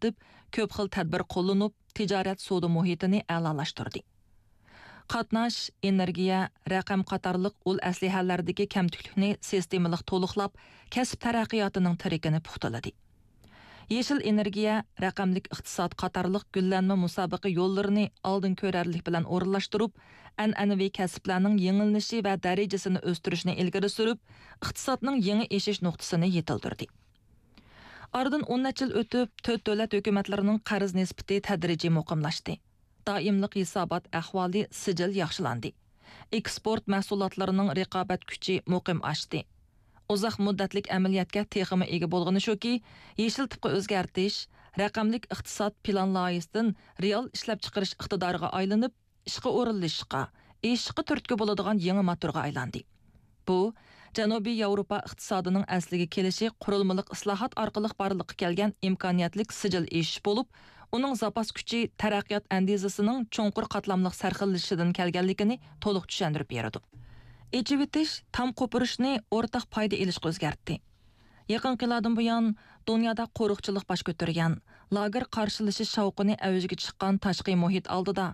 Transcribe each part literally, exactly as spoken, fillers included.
دەپ كۆپ خىل تەدبىر قوللىنىپ، تىجارەت سودا مۇھىتىنى ئەلالاشتۇردى. قاتناش، ئېنېرگىيە، رەقەم قاتارلىق ئۇل ئەسلىھەلەردىكى كەمتۈكلۈكنى سىستېمىلىق تولۇقلاپ، كەسىپ تەرەققىياتىنىڭ تىرىكىنى پۇختىلىدى. يېشىل ئېنېرگىيە، رەقەملىك ئىقتىساد قاتارلىق گۈللەنمە مۇسابىقە يوللىرىنى ئالدىن كۆرەرلىك بىلەن ئورۇنلاشتۇرۇپ، ئەنئەنىۋى كەسىپلەرنىڭ يېڭىلىنىشى ۋە دەرىجىسىنى ئۆستۈرۈشنى ئىلگىرى سۈرۈپ، ئىقتىسادنىڭ يېڭى ئېشىش نۇقتىسىنى يېتىلدۈردى. ئارىدىن ئون نەچچە يىل ئۆتۈپ، تۆت دۆلەت ھۆكۈمەتلىرىنىڭ قەرز نىسبىتى تەدرىجىي مۇقىملاشتى. دائىملىق ھېسابات ئەھۋالى سىجىل ياخشىلاندى. ئېكسپورت مەھسۇلاتلىرىنىڭ رىقابەت كۈچى مۇقىم ئاشتى. ئۇزاق مۇددەتلىك ئەمەلىيەتكە تېخىمۇ ئىگە بولغىنى شۇكى، يېشىل تىپقا ئۆزگەرتىش، رەقەملىك ئىقتىساد پىلان لايىھىسىدىن رېئال ئىشلەپچىقىرىش ئىقتىدارىغا ئايلىنىپ، ئىشقا ئورۇنلىشىشقا، ئېشىشقا تۈرتكە بولىدىغان يېڭى موتورغا ئايلاندى. بۇ، جەنۇبىي ياۋروپا ئىقتىسادىنىڭ ئەسلىگە كېلىشى قۇرۇلمىلىق ئىسلاھات ئارقىلىق بارلىققا كەلگەن ئىمكانىيەتلىك سىجىل ئېشىش بولۇپ، ئۇنىڭ زاپاس كۈچى تەرەققىيات ئەندىزىسىنىڭ چوڭقۇر قاتلاملىق سەرخىللىشىشىدىن كەلگەنلىكىنى تولۇق چۈشەندۈرۈپ بېرىدۇ. ئېچىۋېتىش، تام قوپۇرۇشنى ئورتاق پايدا ئېلىشقا ئۆزگەرتتى. يېقىنقى يىللاردىن بۇيان، دۇنيادا قورۇقچىلىق باش كۆتۈرگەن، لاگېر قارشىلىشىش شاۋقۇنى ئەۋجىگە چىققان تاشقى مۇھىت ئالدىدا،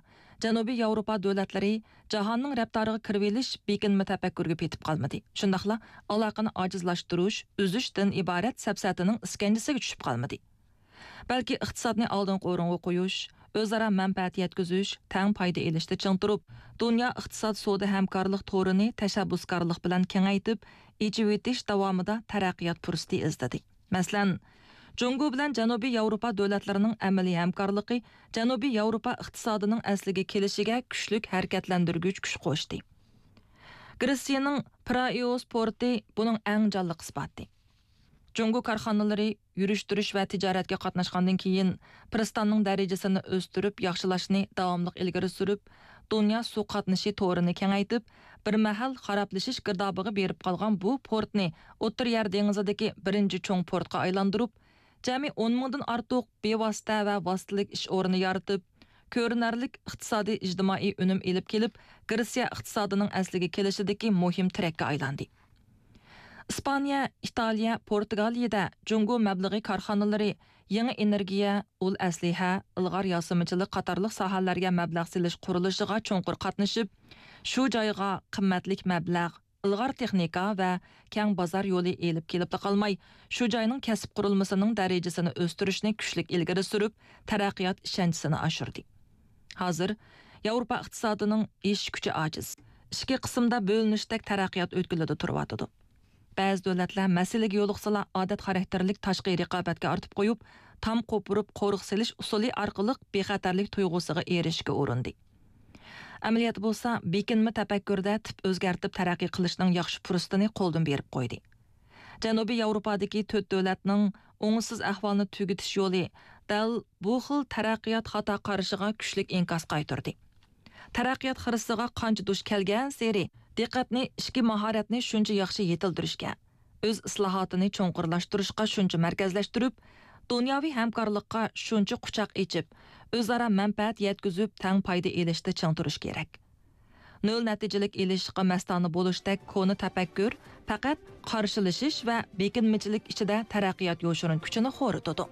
جەنۇبىي ياۋروپا دۆلەتلىرى جاھاننىڭ رەپتارىغا كىرىۋېلىش، بېكىنمە تەپەككۇرگە پېتىپ قالمىدى. شۇنداقلا ئالاقىنى ئاجىزلاشتۇرۇش، ئۈزۈشتىن ئىبارەت سەپسەتىنىڭ ئىسكەنجىسىگە چۈشۈپ قالمىدى. بەلكى ئىقتىسادنى ئالدىنقى ئورۇنغا قويۇش، ئۆزئارا مەنپەئەت يەتكۈزۈش، تەڭ پايدا ئېلىشتا چىڭ تۇرۇپ، دۇنيا ئىقتىساد سودا ھەمكارلىق تورىنى تەشەببۇسكارلىق بىلەن كېڭەيتىپ، ئېچىۋېتىش داۋامىدا تەرەققىيات پۇرسىتى ئىزدىدى. مەسىلەن، جۇڭگو بىلەن جەنۇبىي ياۋروپا دۆلەتلىرىنىڭ ئەمەلىي ھەمكارلىقى جەنۇبىي ياۋروپا ئىقتىسادىنىڭ ئەسلىگە كېلىشىگە كۈچلۈك ھەرىكەتلەندۈرگۈچ كۈچ قوشتى. گرېتسىيەنىڭ پىرائىئوس پورتى بۇنىڭ ئەڭ جانلىق ئىسپاتى. جۇڭگو كارخانىلىرى يۈرۈشتۈرۈش ۋە تىجارەتكە قاتناشقاندىن كېيىن، پىرىستاننىڭ دەرىجىسىنى ئۆستۈرۈپ ياخشىلاشنى داۋاملىق ئىلگىرى سۈرۈپ، دۇنيا سۇ قاتنىشى تورىنى كېڭەيتىپ، بىر مەھەل خارابلىشىش گىردابىغا بېرىپ قالغان بۇ پورتنى ئوتتۇرا يەر دېڭىزىدىكى بىرىنچى چوڭ پورتقا ئايلاندۇرۇپ، جەمئىي ئون مىڭدىن ئارتۇق بىۋاسىتە ۋە ۋاسىتىلىك ئىش ئورنى يارىتىپ، كۆرۈنەرلىك ئىقتىسادىي ئىجتىمائىي ئۈنۈم ئېلىپ كېلىپ، گرېتسىيە ئىقتىسادىنىڭ ئەسلىگە كېلىشىدىكى مۇھىم تىرەككە ئايلاندى. ئىسپانىيە، ئىتالىيە، پورتۇگالىيەدە جۇڭگو مەبلىغى كارخانىلىرى يېڭى ئېنېرگىيە، ئۇل ئەسلىھە، ئىلغار ياسىمىچىلىق قاتارلىق ساھەلەرگە مەبلەغ سېلىش قۇرۇلۇشىغا چوڭقۇر قاتنىشىپ، شۇ جايغا قىممەتلىك مەبلەغ، ئىلغار تېخنىكا ۋە كەڭ بازار يولى ئېلىپ كېلىپلا قالماي، شۇ جاينىڭ كەسىپ قۇرۇلمىسىنىڭ دەرىجىسىنى ئۆستۈرۈشنى كۈچلۈك ئىلگىرى سۈرۈپ، تەرەققىيات ئىشەنچىسىنى ئاشۇردى. ھازىر ياۋروپا ئىقتىسادىنىڭ ئېشىش كۈچى ئاجىز. ئىچكى قىسىمدا بۆلۈنۈشتەك تەرەققىيات ئۆتكىلىدە تۇرۇۋاتىدۇ. بەزى دۆلەتلەر مەسىلىگە يولۇقسىلا، ئادەت خاراكتېرلىك تاشقى رىقابەتكە ئارتىپ قويۇپ، تام قوپۇرۇپ، قورۇق سېلىش ئۇسۇلى ئارقىلىق بىخەتەرلىك تۇيغۇسىغا ئېرىشىشكە ئۇرۇندى. ئەمەلىيەتتە بولسا، بېكىنمە تەپەككۇردە تىپ ئۆزگەرتىپ تەرەققىي قىلىشنىڭ ياخشى پۇرسىتىنى قولدىن بېرىپ قويدى. جەنۇبىي ياۋروپادىكى تۆت دۆلەتنىڭ ئوڭۇشسىز ئەھۋالنى تۈگىتىش يولى دەل بۇ خىل تەرەققىيات خاتا قارىشىغا كۈچلۈك ئىنكاس قايتۇردى. تەرەققىيات خىرىسىغا قانچە دۇچ كەلگەنسېرى، دىققەتنى ئىچكى ماھارەتنى شۇنچە ياخشى يېتىلدۈرۈشكە، ئۆز ئىسلاھاتىنى چوڭقۇرلاشتۇرۇشقا شۇنچە مەركەزلەشتۈرۈپ، دۇنياۋى ھەمكارلىققا شۇنچە قۇچاق ئېچىپ، ئۆزئارا مەنپەئەت يەتكۈزۈپ، تەڭ پايدا ئېلىشتا چىڭ تۇرۇش كېرەك. نۆل نەتىجىلىك ئېلىشىشقا مەستانە بولۇشتەك كونا تەپەككۇر پەقەت قارشىلىشىش ۋە بېكىنمىچىلىك ئىچىدە تەرەققىيات يوشۇرۇن كۈچىنى خورىتىدۇ.